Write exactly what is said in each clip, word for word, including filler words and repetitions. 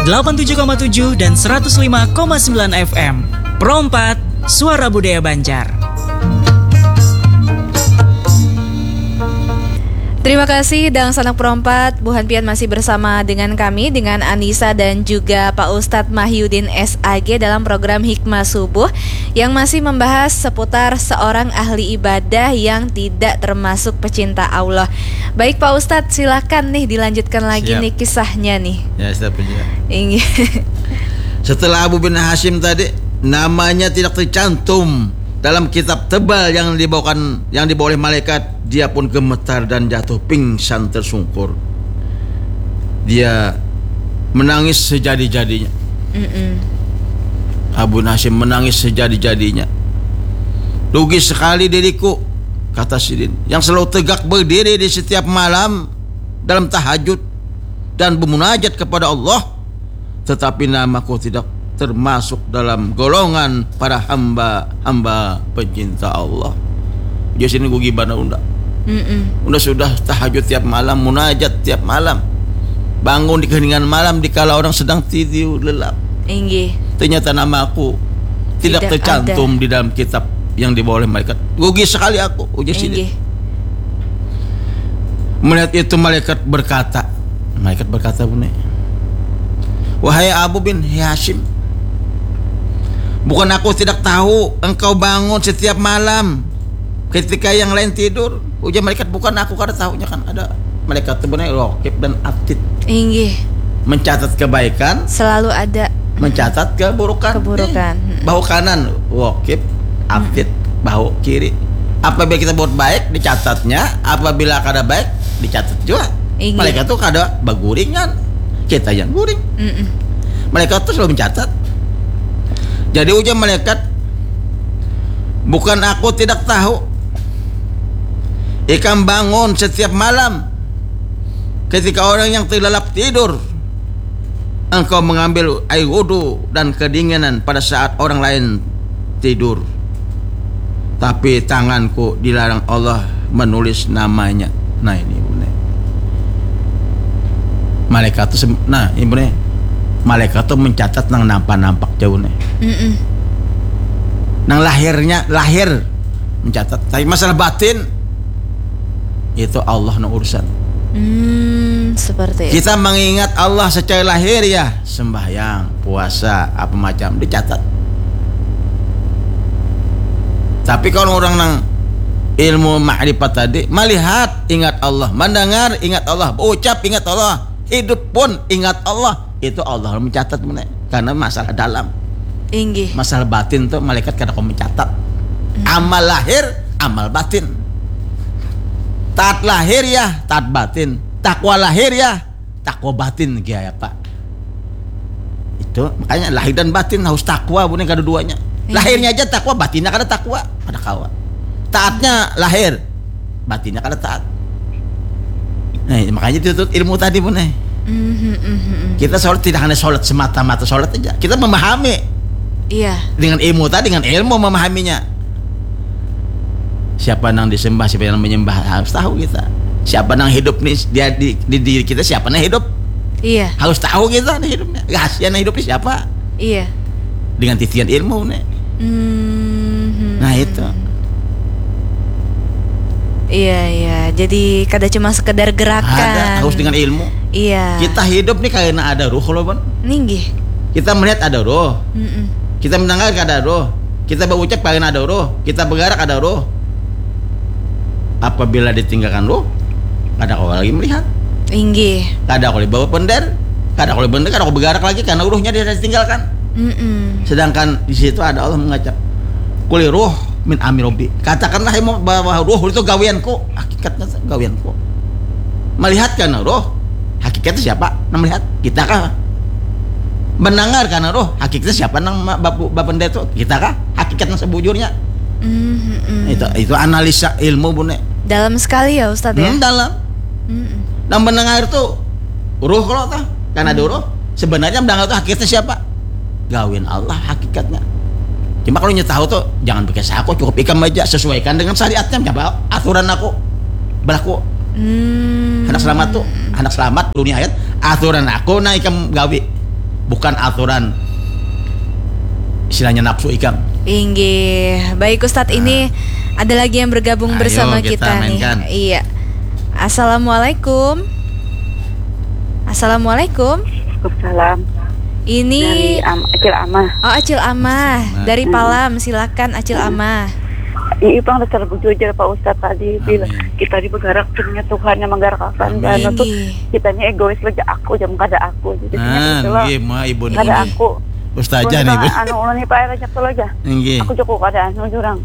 delapan tujuh koma tujuh dan seratus lima koma sembilan F M. Pro empat, Suara Budaya Banjar. Terima kasih, Dang Sanak Perompat. Buhan pian masih bersama dengan kami, dengan Anissa dan juga Pak Ustadz Mahyudin S A G dalam program Hikmah Subuh yang masih membahas seputar seorang ahli ibadah yang tidak termasuk pecinta Allah. Baik, Pak Ustadz, silakan nih dilanjutkan lagi Siap. nih kisahnya nih. Ya, siap aja. Inggih. Setelah Abu bin Hashim tadi, namanya tidak tercantum dalam kitab tebal yang dibawakan, yang dibawa oleh malaikat, dia pun gemetar dan jatuh pingsan tersungkur. Dia menangis sejadi-jadinya. Mm-mm. Abu Nasim menangis sejadi-jadinya. "Rugi sekali diriku," kata sidin, "yang selalu tegak berdiri di setiap malam dalam tahajud dan bermunajat kepada Allah, tetapi namaku tidak termasuk dalam golongan para hamba-hamba pencinta Allah." Jadi sini gue gimana unda? Mm-mm. Unda sudah tahajud tiap malam, munajat tiap malam, bangun di keheningan malam dikala orang sedang tidur lelap. Inggih. Ternyata nama aku tidak, tidak tercantum ada di dalam kitab yang dibawa oleh malaikat. Rugi sekali aku, ujar sidin. Inggih. Melihat itu malaikat berkata, malaikat berkata, bunyi, "Wahai Abu bin Hashim, bukan aku tidak tahu engkau bangun setiap malam ketika yang lain tidur." Ujar malaikat, "Bukan aku kada tahunya kan ada malaikat tu benar Rokib dan Atid." Inggih. Mencatat kebaikan, selalu ada. Mencatat keburukan. Keburukan. Nih, bahu kanan Rokib, Atid bahu kiri. Apabila kita buat baik dicatatnya, apabila kada baik dicatat juga. Inggih. Malaikat tu kada baguringan. Kita yang guring. Mm-mm. Malaikat tu selalu mencatat. Jadi ujar malaikat, "Bukan aku tidak tahu. Ikam bangun setiap malam ketika orang yang terlelap tidur, engkau mengambil air wudhu dan kedinginan pada saat orang lain tidur. Tapi tanganku dilarang Allah menulis namanya." Nah, ini ibu nih. Malaikat tuh, nah, ibu nih. Malaikat tuh mencatat nang nampak-nampak jauh nih. Mm-mm. Nang lahirnya, lahir mencatat. Tapi masalah batin, itu Allah no urusan. Hmm, seperti itu. Kita mengingat Allah secara lahir ya, sembahyang, puasa, apa macam dicatat. Tapi kalau orang nang ilmu makrifat tadi, melihat ingat Allah, mendengar ingat Allah, berucap ingat Allah, hidup pun ingat Allah, itu Allah mencatat mana. Karena masalah dalam. Inggih. Masalah batin tuh malaikat kada kau mencatat. Hmm. Amal lahir, amal batin. Taat lahir ya, taat batin. Takwa lahir ya, takwa batin, ya, ya, Pak. Itu makanya lahir dan batin harus takwa, bukan kada duanya. Iya. Lahirnya aja takwa, batinnya kada takwa, kada kawa. Taatnya lahir, batinnya kada taat. Nah, makanya itu tuh ilmu tadi pun eh. Mhm, mhm, mhm. Kita sholat tidak hanya sholat semata-mata sholat aja. Kita memahami. Iya. Dengan ilmu tadi, dengan ilmu memahaminya. Siapa nang disembah, siapa yang menyembah, harus tahu kita. Siapa nang hidup nih, dia di, di diri kita siapa nang hidup? Iya. Harus tahu kita nih hidupnya. Rahasia nang hidup nih siapa? Iya. Dengan titian ilmu nih. Mhm. Nah, itu. Iya, iya. Jadi kada cuma sekedar gerakan. Ada, harus dengan ilmu. Iya. Kita hidup nih karena ada ruh loh, Bon. Ninggih. Kita melihat ada ruh. Mm-mm. Kita mendengar ada ruh. Kita berucap karena ada ruh. Kita bergerak ada ruh. Apabila ditinggalkan ruh, kada kau lagi melihat. Inggih. Kada kau bawa bender, kada kau bender, kada kau bergerak lagi karena ruhnya dia ditinggalkan. Mm-mm. Sedangkan di situ ada Allah mengajak, "Kuli ruh min amri Robbi." Katakanlah bahwa ruh itu gawianku, hakikatnya gawianku. Melihat karena ruh, hakikatnya siapa? Nah, melihat kita kah? Mendengar karena ruh, hakikatnya siapa nang bapendeta itu? Kita kah? Hakikat yang sebujurnya. Mm-hmm. Itu itu analisa ilmu bune. Dalam sekali ya Ustadz ya. Hmm, dalam. Mm-mm. Nang mendengar itu ruh kalau tah, karena ada ruh. Sebenarnya mendengar itu hakikatnya siapa? Gawian Allah hakikatnya. Cuma kalau nyetahu tuh jangan pakai saku, cukup ikam aja sesuaikan dengan syariatnya, coba aturan aku berlaku. Hmm. Anak selamat tuh, anak selamat dunia ayat aturan aku nah ikam gawi. bukan aturan istilahnya nafsu ikam. Inggih. Baik Ustadz, ini ada lagi yang bergabung Ayo, bersama kita kita, nih. mainkan. Iya. Assalamualaikum. Assalamualaikum. Waalaikumsalam. Dari Ini Am Acil Amah. Oh, Acil Amah Amah. dari Hmm. Palam. Silakan Acil Amah. Iya, pang dasar bujur aja Pak Ustadz tadi bilang Amin. kita di bergerak, sebenarnya Tuhan yang menggerakkan. Amin. Dan itu Inggih. kitanya egois aja, aku aja kada aku. Jadi Nah, itu lah. nggih, ma ibu ni. Kada Nggih. Aku. Ustazah Terus nih, Bu. Anu ulun nih Pak, banyak tuh aja. Nggih. Aku cukup kada anu jurang.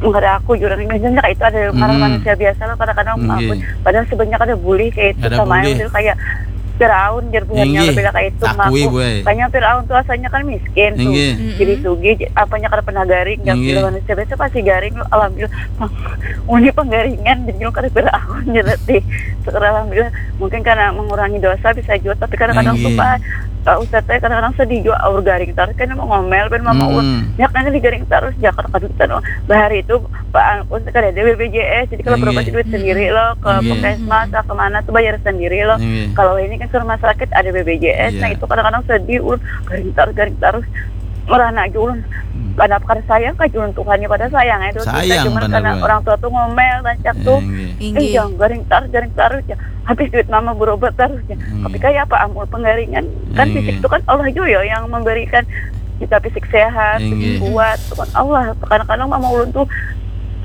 Kada aku jurang. Biasanya kayak itu ada ngaran Hmm. manusia biasa lah, kadang-kadang Nggih. aku. Padahal sebenarnya kada boleh kayak itu Kada sama boleh. Yang kayak Firaun, jar buhannya Nggih. lebih lah kayak itu. Takui, Ngaku. Bu, eh. Kayaknya Firaun tuh asalnya kan miskin tuh. Nggih. Mm-mm. Jadi sugih, apanya kada pernah garing, yang Nggih. bilang manusia biasa pasti garing, alhamdulillah. Ini penggaringan, jadi lu kada Firaun, jadi tih. Syukur alhamdulillah. Mungkin karena mengurangi dosa bisa juga, tapi kadang-kadang tuh Nggih. Pak, Pak Ustadz saya kadang-kadang sedih juga, aur garing terus kan mau ngomel, ben mama Hmm. ulun. Ya kan digaring terus, ya kadang-kadang kita doang. Bahari itu Pak Angkus kada ada B P J S, jadi kalau Nggih. berobat duit sendiri loh, ke Nggih. puskesmas lah, kemana tuh bayar sendiri loh. Nggih. Kalau ini kan ke rumah sakit ada B P J S, Iya. Nah itu kadang-kadang sedih, ulun garing terus, garing terus. Merana aja ulun. Hmm. Kenapa kada sayang kah ulun Tuhan ya, pada sayang itu kita, Sayang, cuman bener, karena bener. Orang tua tuh ngomel, rancak Eh, tuh. nggih. Inggih. Eh, jangan garing terus, garing terus ya. Habis duit mama berobat terus ya. Hmm. Tapi kayak apa amul penggaringan? Kan Iya, fisik iya. Itu kan Allah juga ya yang memberikan kita fisik sehat, Iya, fisik iya. Kuat. Itu kan Allah. Kadang-kadang mama ulun tuh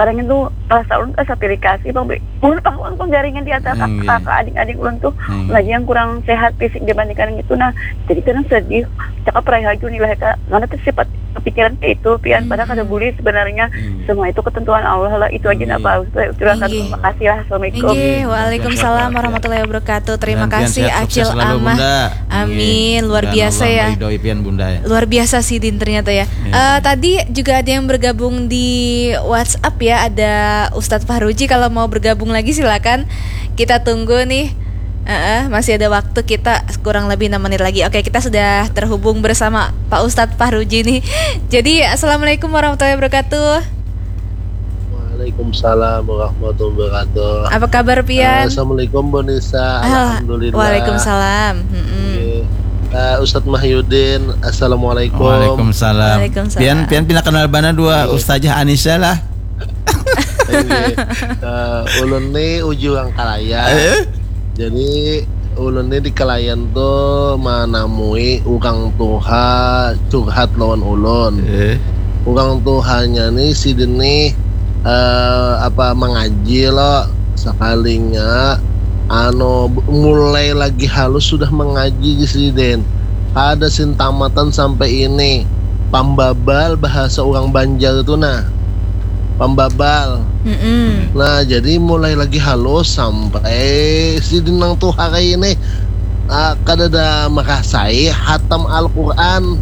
kadang itu rasa ulun rasa pilih kasih bang Be. Ulun pang ulun penggaringan di antara Iya, iya. Kakak adik-adik ulun tuh Iya. Lagi yang kurang sehat fisik dibandingkan itu. Nah, jadi kadang sedih. Cakap raih aja nih lah, Kak. Mana tuh sifat kepikiran kayak itu pian, padahal kada boleh sebenarnya. Iya. Semua itu ketentuan Allah lah. Itu aja Iya. Nah Pak Ustaz. Terima kasih. Inggih. Terima kasih lah. Assalamuikum. Inggih, Inggih, waalaikumsalam sehat-sehat, warahmatullahi wabarakatuh. Terima Gantian kasih sehat, Acil sukses selalu, Amah. Bunda. Amin, Inggih. luar Mudah-mudahan biasa Allah ya. meridhoi pian, Bunda, ya. Luar biasa sih Din ternyata ya. Iya. Eh, tadi juga ada yang bergabung di WhatsApp ya, ada Ustadz Fahruji, kalau mau bergabung lagi silakan. Kita tunggu nih. Heeh, masih ada waktu kita kurang lebih enam menit lagi. Oke, kita sudah terhubung bersama Pak Ustadz Fahruji nih. Jadi, assalamualaikum warahmatullahi wabarakatuh. Waalaikumsalam warahmatullahi wabarakatuh. Apa kabar pian? Assalamualaikum Bonisa. Ah, Alhamdulillah. Waalaikumsalam. Mm-mm. Oke. Eh, Ustadz Mahyudin, assalamualaikum. Waalaikumsalam. Waalaikumsalam. Pian pian pina kenal bana dua Iya. Ustazah Anissa lah. Oke. Eh, ulun ni uju urang Kalayan. Eh? Jadi ulun ni di Kalayan tu manamui urang tuha curhat lawan ulun. Eh. Urang tuhanya ni sidin ni eh, apa mangaji lo, sakalinya anu mulai lagi halus sudah mangaji di sidin. Kada sin tamatan sampai ini. Pambabal bahasa urang Banjar tu nah. Pambabal. Mm-mm. Nah, jadi mulai lagi halus sampai sidin nang tuha kayak ini ah, kada ada merasai hatam Al-Quran.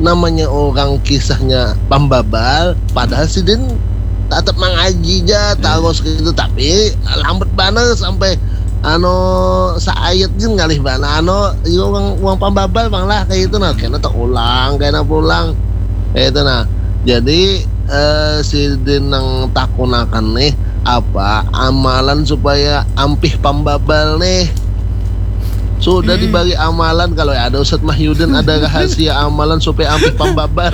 Namanya orang kisahnya pambabal, padahal sidin tetap mangaji ja terus gitu, tapi lambat banar sampai anu saayat gin ngalih bana anu, iya, orang orang pambabal bang lah kayak itu nah, kena terulang, kena pulang kayak itu nah. Jadi eh, sidin nang takunakan nih apa amalan supaya ampih pambabal nih. Sudah dibagi amalan, kalau ada Ustadz Mahyudin ada rahasia amalan supaya ampih pambabal.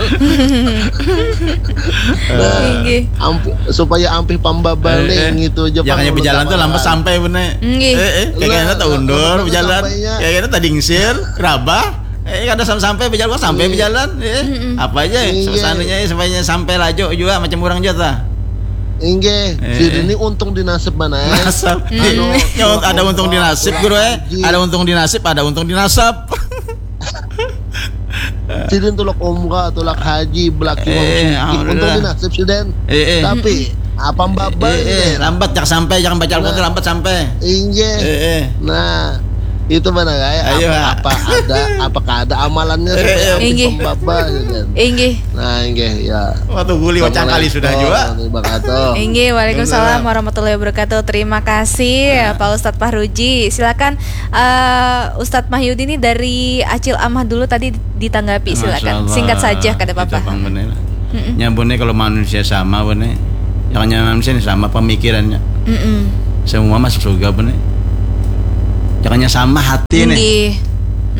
Nah, Inggih. ampi- supaya ampih pambabal Eh, nih eh. gitu aja. Ya, kayak Pang, berjalan tuh amalan. Lambat sampai bener. Nggih. Eh, eh, kayak Lah, kena tak lah, undur lambat berjalan. sampainya. Kayak kena tak dingsir, rabah. Eh, kada sampai sampai berjalan, kok sampai Iya. berjalan. Eh, apa aja? Iya. Suasananya supaya sampai lajo juga macam orang juga tah. Inggih, Eh. Sidin ini untung di nasib mana ya? Nasab. Anu, Nyawa ada untung di nasib, guru eh. Ada untung di nasib, ada untung di nasab. Sidin tulak umrah, tulak haji, belaki wong Eh, sugih. alhamdulillah. Untung di nasib Sidin. Eh, eh. Tapi apa babal Eh, eh, Sidin? Lambat jak sampai, jangan baca Al-Quran Nah. lambat sampai. Inggih. Eh, eh. Nah, itu mana kayak Ayo, apa, ah. apa ada apakah ada amalannya Eh, supaya eh. habis Inggih. pembabal Sidin. Inggih. Nah, inggih ya. Waktu guli wacang kali sudah juga. Assalamualaikum warahmatullahi wabarakatuh. Inggih, waalaikumsalam warahmatullahi wabarakatuh. Terima kasih ya, Pak Ustadz Fahruji. Silakan eh, Ustadz Mahyudin ini dari Acil Amah dulu tadi ditanggapi, silakan. Masya Allah. Singkat saja, kada apa-apa. Itu pang bener. Mm-mm. Nyambunnya kalau manusia sama bener. Jangan manusia ini sama pemikirannya. Mm-mm. Semua masuk surga bener. Jangannya sama hati nih. Inggih.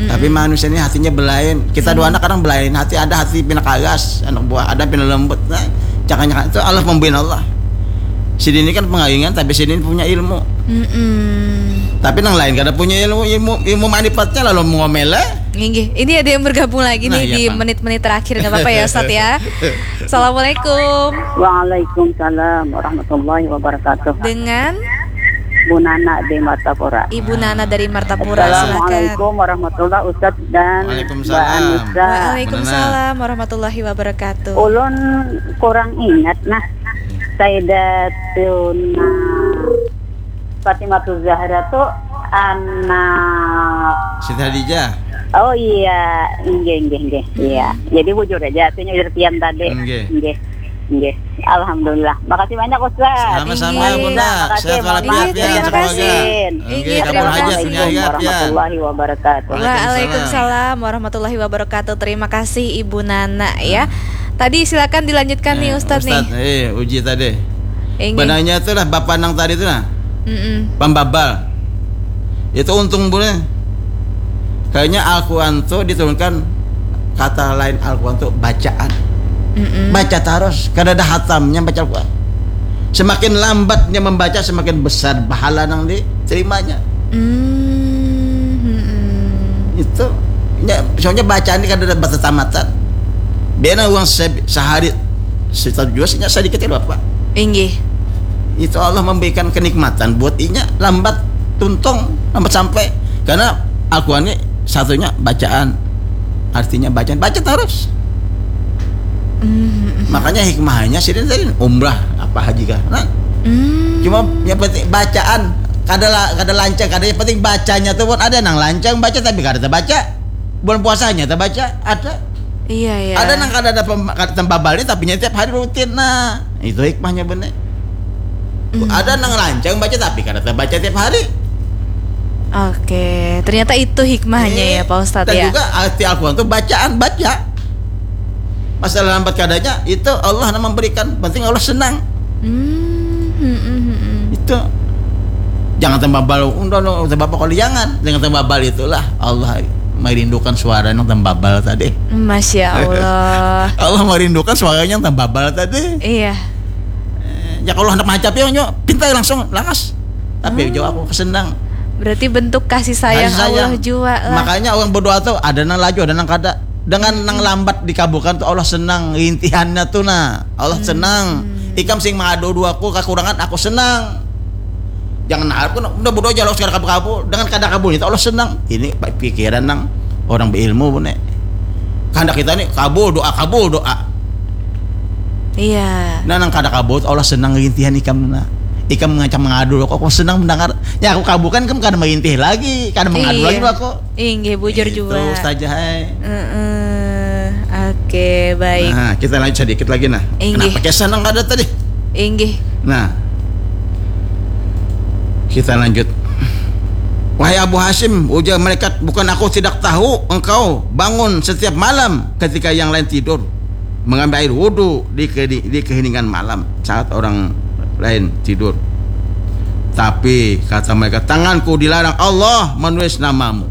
Tapi manusia ni hatinya belain. Kita dua anak kadang belain hati, ada hati pina karas, anak buah ada pina lembut. Nah, jangan-jangan itu Allah pemberian Allah. Sidin ni kan pangayungan, tapi sidin punya ilmu. Mm-mm. Tapi nang lain kada punya ilmu, ilmu ilmu manipatnya lalu mengomel eh. Inggih, ini ada yang bergabung lagi Nah, nih iya, di Pak. Menit-menit terakhir, nggak apa-apa ya Ustadz ya. Assalamualaikum. Waalaikumsalam warahmatullahi wabarakatuh. Dengan Bu Nana di Martapura. Ibu Nana dari Martapura, silakan. Assalamualaikum warahmatullahi, Ustadz dan Mbak Waalaikumsalam. Anissa. Waalaikumsalam warahmatullahi wabarakatuh. Ulun kurang ingat nah. Saidatuna Fatimah Zahra tuh anak Siti Hadijah. Oh iya, inggih inggih inggih. Iya. Jadi bujur aja artinya Irtian tadi. Inggih. Inggih. Inggih. Alhamdulillah. Makasih banyak Ustaz. Sama-sama Inggih. Bunda. Makasih Sehat Mama. walafiat. Inggih, terima Semoga. kasih. Oke, Inggih, kabul terima hajat kasih. dunia akhirat ya. Warahmatullahi wabarakatuh. Waalaikumsalam warahmatullahi wabarakatuh. Terima kasih Ibu Nana ya. Tadi silakan dilanjutkan nih Eh, Ustadz nih. Ustadz, eh, uji tadi. Inggih. Benarnya itu lah bapak nang tadi itu nah. Mm-mm. Pembabal. Itu untung boleh. Kayaknya Al-Quran tuh diturunkan kata lain Al-Quran tuh bacaan. Mm-mm. Baca terus, kada ada hatamnya baca Al-Quran. Semakin lambatnya membaca, semakin besar pahala nang diterimanya. Mm, mm-mm. Itu, nya, soalnya bacaan ini kada ada batatamatan. Biarlah uang se- sehari satu jua, sedikit ya bapak. Inggih. Itu Allah memberikan kenikmatan buat inya lambat tuntung, lambat sampai. Karena Al-Quran ini satunya bacaan, artinya bacaan, baca terus. Mm, Makanya hikmahnya sidin tadi umrah apa haji kah. Nah, mm. Cuma yang penting bacaan kada la- kada lancang, kada, yang penting bacanya tuh pun ada nang lancang baca tapi kada terbaca. Bulan puasanya terbaca ada. Iya ya. Ada nang kada ada pem- kada tembabalnya tapi nya tiap hari rutin. Nah, itu hikmahnya bener. Hmm. Ada nang lancang baca tapi kada terbaca tiap hari. Oke, ternyata itu hikmahnya ya Pak Ustadz Dan ya. Juga arti Al-Quran tuh bacaan, baca. Masalah lambat kadanya itu Allah yang memberikan. Penting Allah senang. Hmm, hmm, hmm, hmm, hmm. Itu jangan tembabal undang undang tembabal kalau jangan jangan tembabal itulah Allah merindukan suara yang tembabal tadi. Masya Allah. Allah merindukan suaranya yang tembabal tadi. Iya. Ya kalau hendak mancap ya nyo pintai langsung lakas. Tapi jauh aku kesenang. Berarti bentuk kasih sayang, Kasih sayang. Allah jua lah. Makanya orang berdoa tuh ada nang laju, ada nang kada. Dengan nang lambat dikabulkan tuh Allah senang, rintihannya tuh nah. Allah senang. Ikam sing mengadu dua aku kekurangan aku senang. Jangan harap kan udah berdoa jalur sekarang kabul-kabul. Dengan kada kabulnya tuh Allah senang. Ini pikiran nang orang berilmu bune. Kandak kita nih kabul doa kabul doa. Iya. Nah nang kada kabul tuh Allah senang rintihan ikam nah. Ikam ngacam mengadu aku, aku senang mendengar. Ya aku kabulkan ikam kada merintih lagi, kada mengadu Iya. lagi aku. Inggih bujur Itu jua. Ustazah hai. Heeh. Oke, baik. Nah, kita lanjut sedikit lagi nah. Inggih. Kenapa kisah nang kada tadi? Inggih. Nah, kita lanjut. Wahai Abu Hasyim, ujar malaikat, bukan aku tidak tahu engkau bangun setiap malam ketika yang lain tidur, mengambil air wudhu di, ke- di, di keheningan malam saat orang lain tidur. Tapi kata malaikat, tanganku dilarang Allah menulis namamu.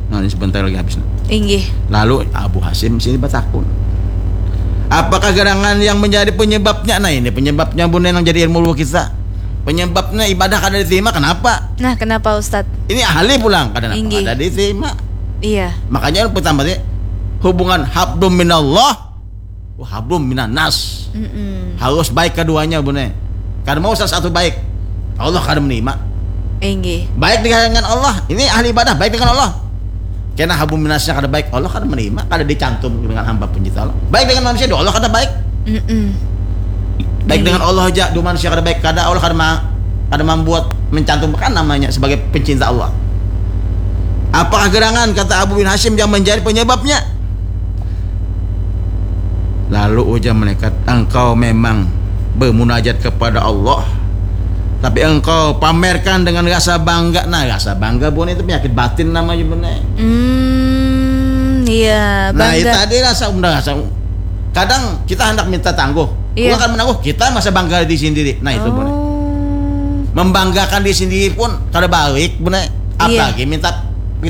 Nah, ini sebentar lagi habis. Nah. Inggih. Lalu Abu Hasyim sini batakun. Apakah gerangan yang menjadi penyebabnya? Nah, ini penyebabnya bunda yang jadi ilmu kita. Penyebabnya ibadah kada diterima kenapa? Nah, kenapa Ustadz? Ini ahli pulang kada Inggih. kada diterima. Iya. Makanya pertama sih hubungan hablum minallah wa hablum minannas. Mm-mm. Harus baik keduanya bunda. Kada mau salah satu baik. Allah kada menerima. Inggih. Baik dengan Allah, ini ahli ibadah baik dengan Allah. Kena hablum minannasnya kada baik, Allah kada menerima, kada dicantum dengan hamba pencipta Allah. Baik dengan manusia, doa Allah kada baik. Mm-mm. Baik Iya. Dengan Allah aja, dua manusia kada baik, kada Allah kada ma- kada membuat mencantumkan namanya sebagai pencinta Allah. Apakah gerangan kata Abu bin Hasyim yang menjadi penyebabnya? Lalu ujar malaikat, engkau memang bermunajat kepada Allah, tapi engkau pamerkan dengan rasa bangga. Nah, rasa bangga bukan itu penyakit batin namanya benar. Hmm, iya, Nah, itu bangga. Tadi rasa udah rasa. Kadang kita hendak minta tangguh, Iya. bukan menangguh, kita masa bangga di sendiri. Nah, itu benar. Oh. Membanggakan diri sendiri pun kada baik benar. Iya. Apalagi minta